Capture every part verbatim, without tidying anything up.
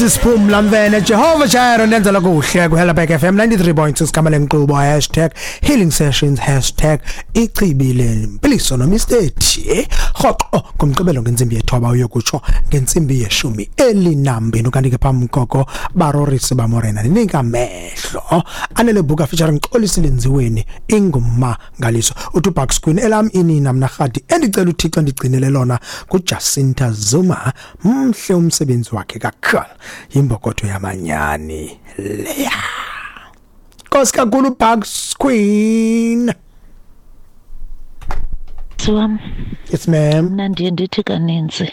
Sisiphumla mvene Jehova Jireh nenzela kuhle ku Helderberg F M ninety-three point six gama lenkqubo hashtag healing sessions hashtag ichibile mpiliso nomisteti rhoqo ngomgqibelo ngentsimbi yethoba uyokutsho ngentsimbi yeshumi elinambini. Kanti ke phambi koko barorisi bamorena ninika amehlo anele buka featuring Xolisi Lenziweni ingumangaliso uthi Bucks Queen elam inina mna rhadi endicela uThixo ndigcinele lona kuJacinta Zuma mhle umsebenzi wakhe kakhulu yimbokotho yamanyani leya. Nkosi kakhulu Bucks Queen. Siwam. Yes ma'am. Mna ndiye ndithi kaninzi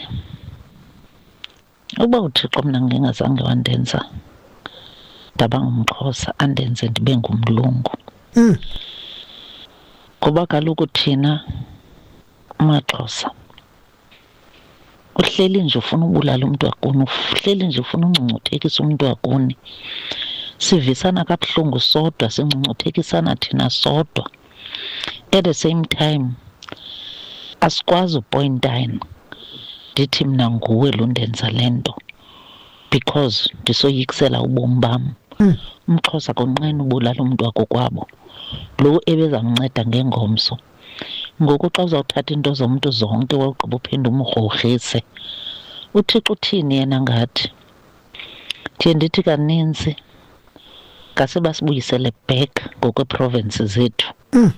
uba uThixo mna ngingazange wandenza ndaba ngumXhosa andenze ndibe ngumlungu. Mm. Ngoba kaloku thina maXhosa uhleli nje ufuna ubulala umuntu wakuni, uhleli nje ufuna ungcungcuthekisa umuntu wakuni. Sivisana kabuhlungu sodwa, singcungcuthekisana thina sodwa. At the same time asikwazi upointine ndithi mna nguwe lo ndenza le nto because ndisoyikisela ubomi bam. Mm. UmXhosa konqena ubulala umuntu wakokwabo lo ebezamnceda ngengomso. Ngoku xa uzawuthatha into zomntu zonke wawugqiba uphinde umgrogrise, uThixo uthini yena ngathi? Ndiye ndithi kaninzi ngase basibuyisele back ngokweeprovinsi zethu. Mm.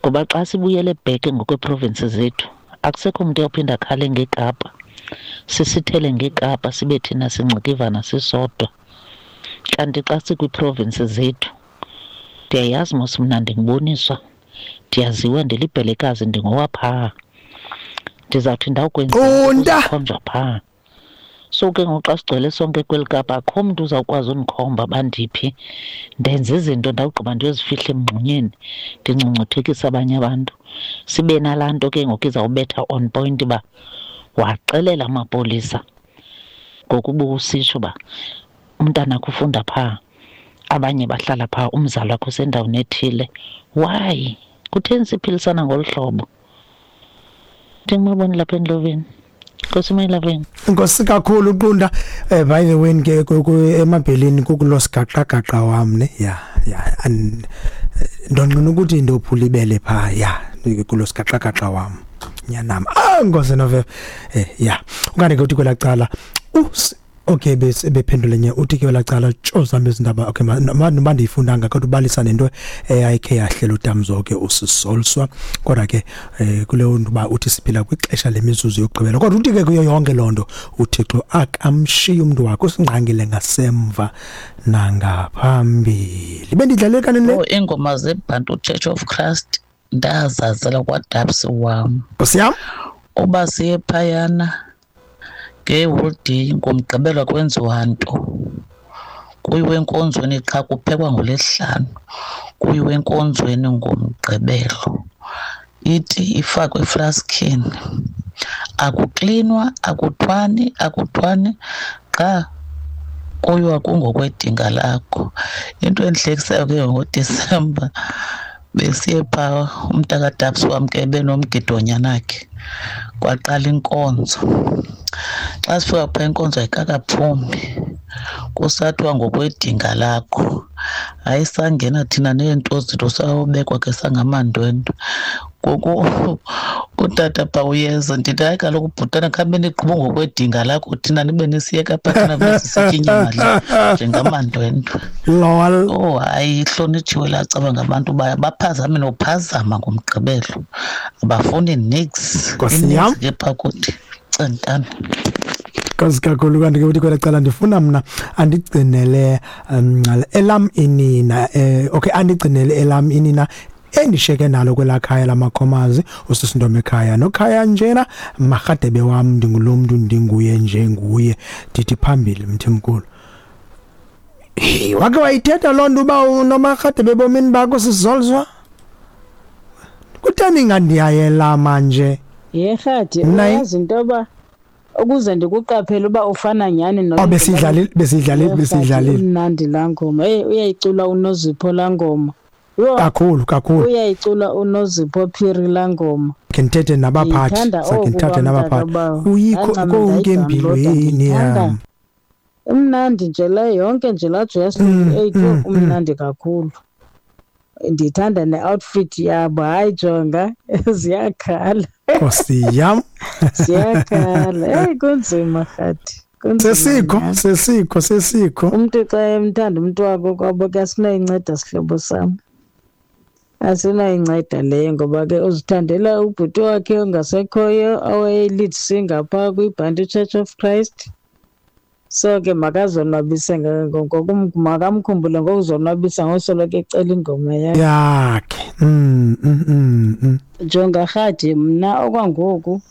Ngoba xa sibuyele back ngokweeprovinsi zethu akusekho mntu oyawuphinda akhale ngeKapa, sisithele ngeKapa sibe thina singcikivana sisodwa. Kanti xa sikwiiprovinsi zethu ndiyayazi mos mna ndinguboniswa, ndiyaziwa ndilibhelekazi ndingowaphaa, ndizawuthi ndawukwenza khonjwa phaa. So ke ngoku xa sigcwele sonke kweli Kapa akho mntu uzawukwazi undikhomba bandiphi, ndenza izinto ndawugqiba ndiyozifihla emngxunyeni ndingcungcuthekise abanye abantu. Sibe nalaa nto ke ngoku izawubetha on point uba waxelela amapolisa ngokuba usitsho uba umntanakho ufunda phaa, abanye bahlala phaa, umzali wakho usendaweni ethile. Why? Kutheni siphilisana ngolu hlobo? Ndingumaboni lapha endloveni. Nkosi mayilaveni. Nkosi kakhulu Qunda. Eh by the way ke emabhelini kukulo sigaqagaqa wam ne. Yeah, yeah. And ndonqena ukuthi ndophula ibele pha. Yeah, kulo sigaqagaqa wam. Nyanam. Ah Nkosi nove. Eh yeah. Ukane ke uthi kwelacala us okay bese bephendule nye uthi ke lacala tsho zami izindaba okay noma ndiyifundanga kodwa ubalisa nento eyayikhe yahlela uTamzoke usisolswa kodwa ke kuleyo nto ba uthi siphila kwixesha lemizuzu yokugqibela kodwa uthi ke kuyo yonke lonto uThixo akamshiya umuntu wakhe usingqangile ngasemva nangaphambili. Bendidlale kanene le ingoma zeBantu Church of Christ ndazazela kwaDabs wam. Nkosi yam uba siye phayana ngeholiday ngomgqibelo kwenziwa nto, kuyiwe enkonzweni qha kuphekwa ngolesihlanu, kuyiwe enkonzweni ngomgqibelo, iti ifakwe eflaskini, akuklinwa akuthwani akuthwani qha kuyiwa kungokwedinga lakho. Into endihlekisayo ke ngoDisemba besiye phaa umntakadabs wam ke benomgidonyanakhe, kwaqala inkonzo. Xa sifika phaa inkonzo ayikakaphumi, kusathiwa ngokwedinga lakho. Hayi sangena thina neento zethu sayobekwa ke sangamandwendwe. Ngoku utata phaa uyeza, ndithi hayi kaloku bhutana khabe niqhuba ngokwedinga lakho thina nibe nisiyeka phaa thina besisitya inyama le njengamandwendwe. Lol. Oh hayi ihlonitshiwe laa caba ngabantu baphazame nophazama ngomgqibelo, abafuni niks. Nkosi yam ke phaa kuthi centana. Nkosi kakhulu. Kanti ke uthi kwelacala ndifuna mna andigcinele um, elam inina eh, okay andigcinele elam inina endisheke nalo kwelakhaya lamakhomazi usisintombi ekhaya nokhaya njena marhadebe wam ndingulo mntu ndinguye nje nguye ndithi phambili mthimkhulu. Hey, wake wayithetha loo nto uba unomarhadebe ebomini bakho sizolzwa? Kutheni ngandiyayela manje? Yerhadi uyazi into yoba ukuze ndikuqaphele uba ufana nyhani no. Oh besidlalile besidlalile besidlalile. Mnandi laa ngoma. Hey uyayicula uNozipho laa ngoma. Kakhulu kakhulu. Uyayicula uNozipho Phiri laa ngoma. Ke ndithethe nabaphathi, sakhe ndithethe nabaphathi. Uyikho konke empilweni yam. Imnandi nje le yonke nje laa Joyous twenty-eight mm, umnandi kakhulu. Ndithanda ne-outfit yabo. Hayi jonga, ziyakhala. Nkosi yam. Ziyakhala. Hey, kunzima Rhadi. Kunzima Sesikho, nyhani. sesikho, sesikho. Umntu xa emthanda umntu wakhe kwabo ke asinayinceda sihlobo sam. Asinayinceda leyo ngoba ke uzithandela ubhuti wakhe ongasekhoyo owayeyi-lead singer phaa kwiBhantu Church of Christ. So ke makazonwabise ngokum makamkhumbule ngokuzonwabisa ngosoloko ecela ingoma yakhe. Yakhe. Mm, mm, mm, mm. Jonga Rhadi, mna okwangoku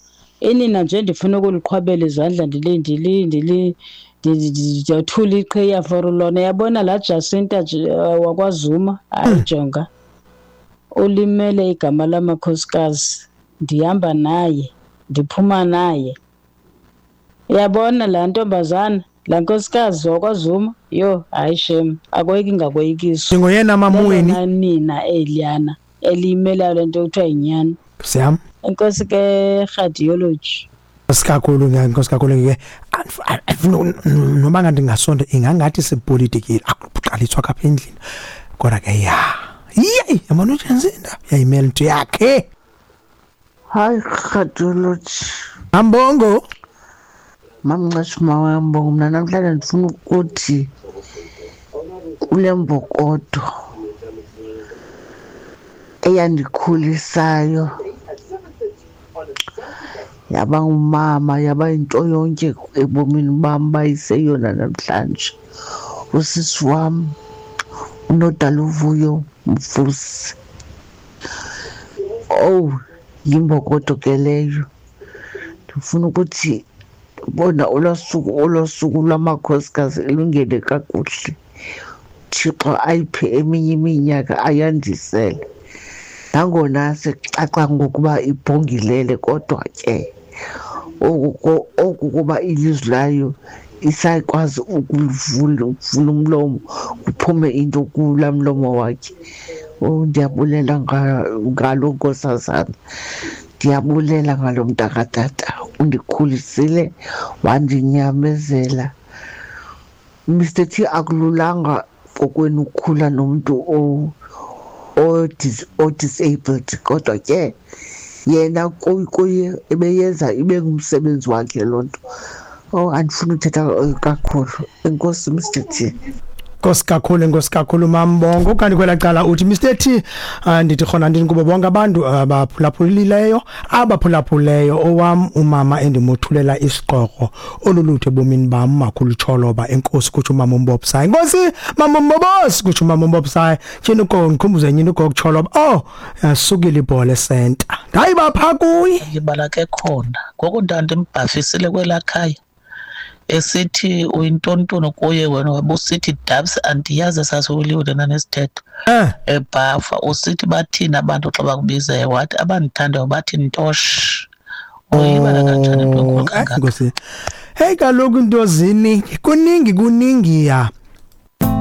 inina nje ndifuna ukuliqhwabela izandla ndili ndili ndili ndiyothula iqhiya for lona. Yabona laa Jacinta nje, eh, wakwaZuma, hayi jonga, ulimele igama lamakhosikazi. Ndihamba naye, ndiphuma naye. Uyabona laa ntombazana, laa nkosikazi wakwaZuma, yho hayi shem, akoyiki ngakoyikiswa. Ndingoyena mamweni. Lelona nina eliyana eliyimelayo le nto kuthiwa yinyani. Nkosi yam. Enkosi ke radiology. Nkosi kakhulu ke, nkosi kakhulu ke. Andifuna noma ngathi ngasonto ingangathi sepolitikile akuqaliswa apha endlini. Kodwa ke ya. Yeyi, yabona uJacinta yayimela into yakhe. Hayi radiology. Ambongo. Mamnqeshu mawambongo, mna namhlanje ndifuna ukuthi kule mbokodo eyandikhulisayo yaba ngumama, yaba yinto yonke ebomini bam, bayiseyona namhlanje. Usisi wam uNodaluvuyo Mfusi. Oh, yimbokodo ke leyo. Ndifuna ukuthi bona olwaa suku, olwaa suku lwamakhosikazi ilungele kakuhle. Thixo ayiphe eminye iminyaka ayandisele. Nangona sekucaca ngokuba ibhongilele, kodwa ke oku oku kuba ilizwi layo isakwazi ukulivula, ukuvula umlomo kuphume into kulaa mlomo wakhe. Oh, ndiyabulela ngalo nkosazana, ndiyabulela ngalo mntakatata. Undikhulisile, wandinyamezela. Mister T, akululanga kokwenu ukukhula nomntu o-disabled, kodwa ke yena kuye ebeyenza ibe ngumsebenzi wakhe loo nto. Oh, andifuni uthetha kakhulu. Enkosi Mister T. Nkosi kakhulu, enkosi kakhulu Mambongo. Kanti kwelaa cala uthi Mister T, ndithi khona ndini kubo bonke abantu abaphulaphulileyo, abaphulaphuleyo, owam umama endimothulela isiqoko olulutho ebomini bam, makhulu Tsholoba. Enkosi kutsho umama uMbobsayi. Enkosi mama uMbobosi kutsho umama uMbobsayi. Tyhini ugogo, ndikhumbuze nyini ugogo Tsholoba. Oh, yasukile ibhola esenta. Ndayiba phaa kuye. Ndibala ke khona. Ngoku ndandimbhafisile kwelaa khaya. Esithi uyintontono kuye wena, wabusithi dabs, andiyazi sasiwuliwe nanesithetho. Eh. Ebhafa usithi bathini abantu xa bakubizayo, wathi abandithandayo bathi ntosh. Uyibala kanjani into enkulu kangaka? Nkosi. Hey kaloku into zini, kuningi kuningi ya.